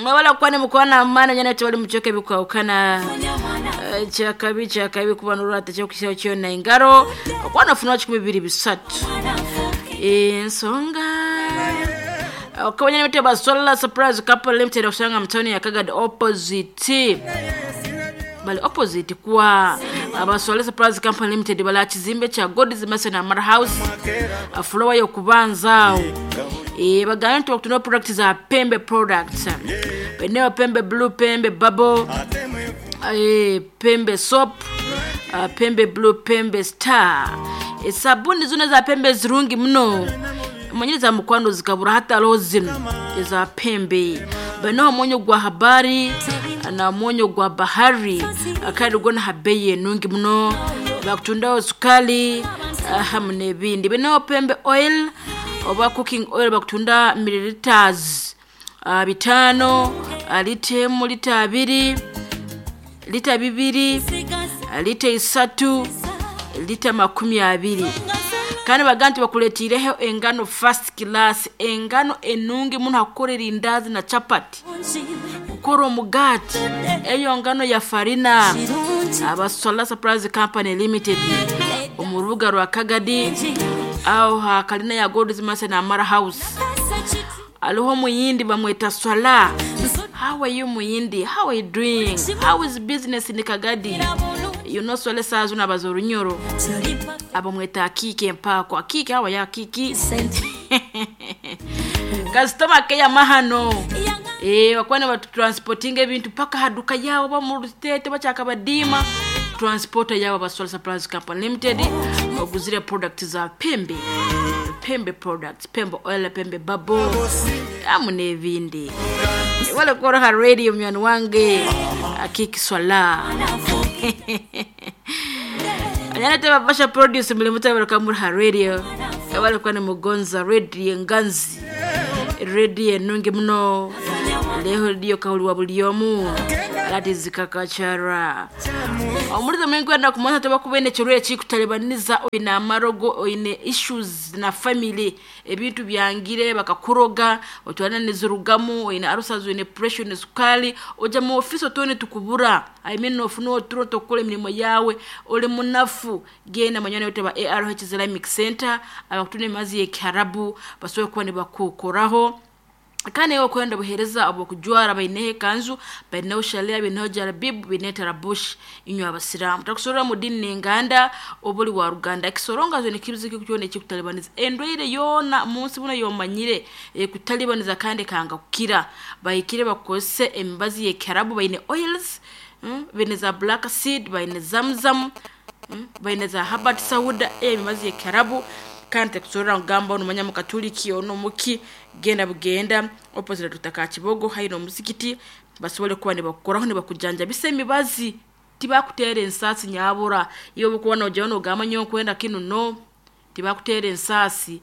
Mwebale kuba nimukwana amaani nyana tibali mucweka ebikwahukana. Kyakabi kyakabi kuba norwata kyokukisaho kyona engaro okuba nofuna 23. Ensonga okabanya nimite ba Solar Surprise Couple Limited okusanga mu town ya Kagadi opposite bali opposite kwa aba Solar Surprise Company Limited bali aha kizimbe kya God's Mason Amara House floor y'okubanza aho. Bagamba nti bakutunda products za Pembe products. Baineho Pembe Blue, Pembe Bubble, Pembe Soap, Pembe Blue, Pembe Star. Esabuni zona eza Pembe zirungi muno. Omanyire za mukwano zikabura hati hariho zinu eza Pembe. Baineho omwonyo gwa Habari na omwonyo gwa Bahari kandi gwona ha beeyi enungi muno. Bakutundaho sukali hamu n'ebindi. Baineho Pembe Oil oba cooking oil bakutunda milliliters 5, lita emu, lita abiri, lita bibiri, lita isatu, lita 20. Kandi bagamba nti bakuleetiireho engano first class, engano enungi muno hakukora erindazi na chapati, kukora omugaati, eyo ngano ya farina. Aba Solar Surprise Company Limited omu rubuga rwa Kagadi aho ha kalina ya God's Mercy na Amara House. Hariho omuyindi bamweta Swala. How are you muyindi? How are you doing? How is business in Kagadi? You know Swala esaaha zinu abaza orunyoro. Abamweta Akiki Empako. Akiki, how are you Akiki? Kasitoma keyama hano. Bakuba nibatutransportinga ebintu paka aha duka yaabo oba omu rutete bakyakabadiima. Transporter yaabo aba Solar Supplies Company Limited oguzire products za Pembe. Pembe products, Pembe oil, Pembe bubble hamu n'ebindi. Wale kukora ha radio munywani wange Akiki Swala. Anyana Basha produce mulimu tabaruka muri ha radio. Wale kuba nimugonza radio enganzi. Radio enungi muno. Leho radio kahuliwa buli omu. That is kakachara. Omurizo mwingi kumanya toba ine ekirwaire ekikutalibaniza oine amarogo oine issues na family ebintu byangire bakakuroga otwana nizirugamu oine ulcers oine pressure oine sukali oja mu office otone tukubura I mean nofuna oturo tokukora emirimo yawe ori munafu genda munywani waitu aba ARH Islamic Center abakutunda emibazi y'ekiharabu basobole kuba nibakukoraho. Kandi iwe okwenda obuheereza obw'okujwara baineho ekanju, baineho sharia, baineho jarabibu, baineho tarabushi inywe abasiraamu. Takusorora mu diini n'enganda oba ori wa ruganda. Ekisoronga zoona ekizibu kyona ekikutalibaniza. Endwaire yoona munsi muno ey'omanyire ekutalibaniza kandi ekanga kukira. Bahikire bakukozese emibazi y'ekiharabu baine oils, baine za black seed, baine zamzam, baine za herbert sauda, emibazi y'ekiharabu kandi tekusorora kugamba onu mukatuliki onu omuki genda bugenda opposite Dr. Kakibogo haihi n'omuzigiti basobole kuba nibakukoraho nibakujanjabisa emibazi tibakuteera ensaasi nyabura iwe obu okuba nojayo nogamba nyowe nkwenda kinu no tibakuteera ensaasi.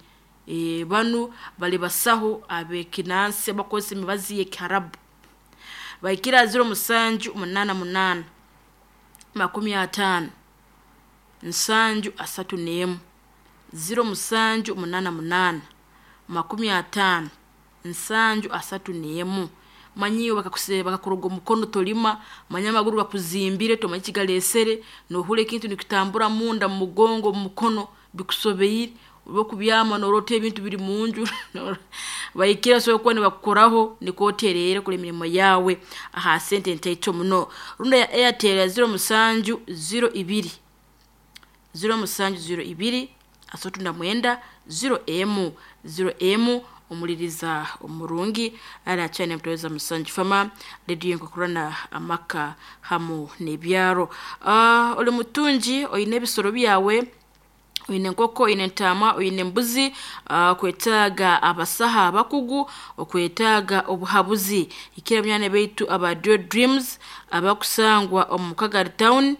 Banu bali basaho ab'ekinansi abakukozesa emibazi y'ekiharabu. Bahikire aha 0788 50 731 0788 50 731 manya iwe bakakuroga omukono tolima, manya amaguru gakuzimbire tomanya ekigaleesere, nohurra ekintu nikitambura munda mu mugongo omu mukono bikusobeire, obu okubyama noroota ebintu biri munju bahikire basobole kuba nibakukoraho nikwo otereere okora emirimo yaawe aha sente ntaito muno. Rundi eya Airtel ya 0702 0702 39 0M 0M omuliriza omurungi arakyane mutoweza musanju fama radio nkokurana amaka hamu n'ebyaro. Oli mutungi oine ebisoro byawe oine enkoko oine entaama oine embuzi okwetaaga abasaha abakugu okwetaaga obuhabuzi ikira banywani baitu aba Dio Dreams abakusangwa omu Kagadi town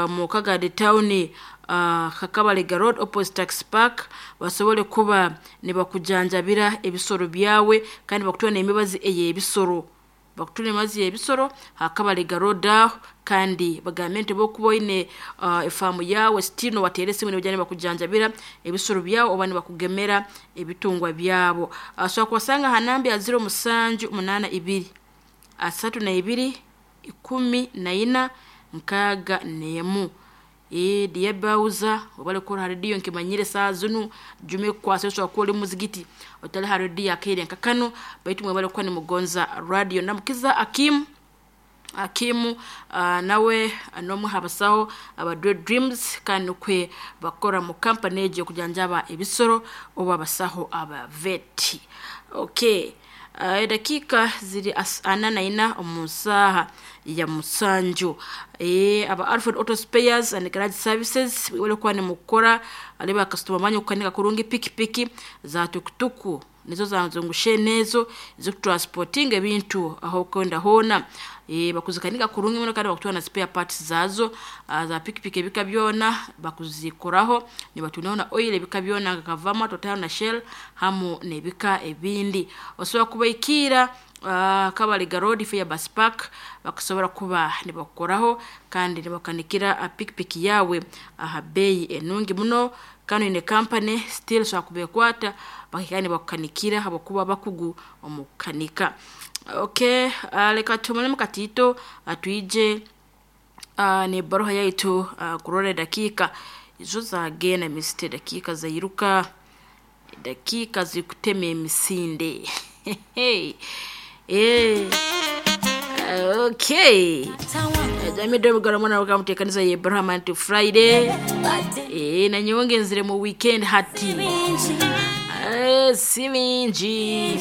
mu Kagadi town Kakabalega road opposite taxi park basobole kuba nibakujanjabira ebisoro byawe kandi bakutwara n'emibazi ey'ebisoro. Bakutwara emibazi y'ebisoro ha Kabalega road aho kandi bagambe nti obu okuba oine efaamu yaawe still nobateera esimu nibaija nibakujanjabira ebisoro byawe oba nibakugemera ebitungwa byabo. Osobola kubasanga ha namba ya 0782 32 14 61. Diyabauza obale kora ha rediyo nkimanyire saa zinu jume kukwasa oshobora kuba ori muzigiti otali ha rediyo akaire nka kanu, baitu mwebale kuba nimugonza radio. Ndamukiza Akimu Akimu, nawe n'omwe ha basaho aba Dreams, kandi nukwe bakora mu kampani egyo okujanjaba ebisoro oba abasaho aba vet. Okay. Edakiika ziri 44 omu nsaaha ya 7. Aba Alfred Auto Spares and Garage Services webale kuba nimukora ari bakasitoma banyu kukanika kurungi pikipiki za tukutuku nizo zanzungushe ezo zikutransportinga ebintu aho okwenda hoona. Bakuzikanika kurungi muno kandi bakutwara na spare parts zaazo za pikipiki ebika byona bakuzikoraho, nibatundaho na oil ebika byona nka Kavama, Total na Shell hamu n'ebika ebindi. Osobola kubaikiira Kabaliga Road Fair Bus Park, bakusobora kuba nibakukoraho kandi nibakanikira pikipiki yawe aha beeyi enungi muno. Kandi oine kampani still osobola kubekwata bakahika nibakukanikira habwokuba bakugu omu kukanika. Okay, leka tuhuumulemu katiito, twije n'ebaruha yaitu kurora edakiika izo zagenda misite, edakiika zairuka, edakiika zikutema emisinde. Okay. Jamii mugaro mwana wakamuteekaniza ye Abraham anti Friday. Na nyonge nzire mu weekend hati. Si mingi.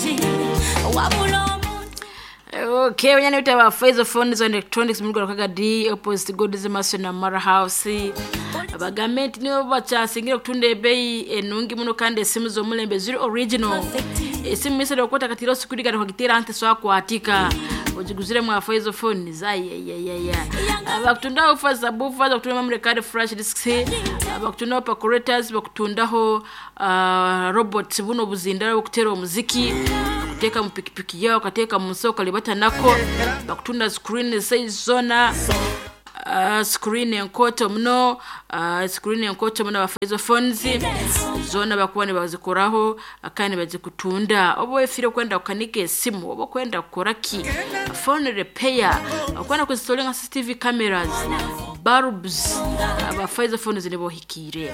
Okay, wanyani utaba Faizo Phones and Electronics mugaro kaga D opposite God's Mason na Mara House. Abagambe nti nibo bakyasingira okutunda ebeeyi enungi muno kandi esimu z'omulembe ziri original. Esimu misere okwata katiro sikurigana kwagitera nti swakwatika. Ojiguzire mwa Faizo Phone zayeyeyeye. Abakutundaho fa subwoofer, bakutundaho memory card, flash disks, bakutundaho percolators, bakutundaho robots buno buzindaro bukutera omuziki, kuteeka mu pikipiki yawe ukateeka mu nsaho okalibata nako, bakutunda screen size zona, screen enkoto muno, screen enkoto muno. Aba Faizo Phones zoona bakuba nibazikoraho kandi bazikutunda. Oba wefire kwenda kukanika esimu oba kwenda kukora ki, phone repair, okwenda kuzistolinga CCTV cameras, bulbs, aba Faizo Phones nibo hikiire.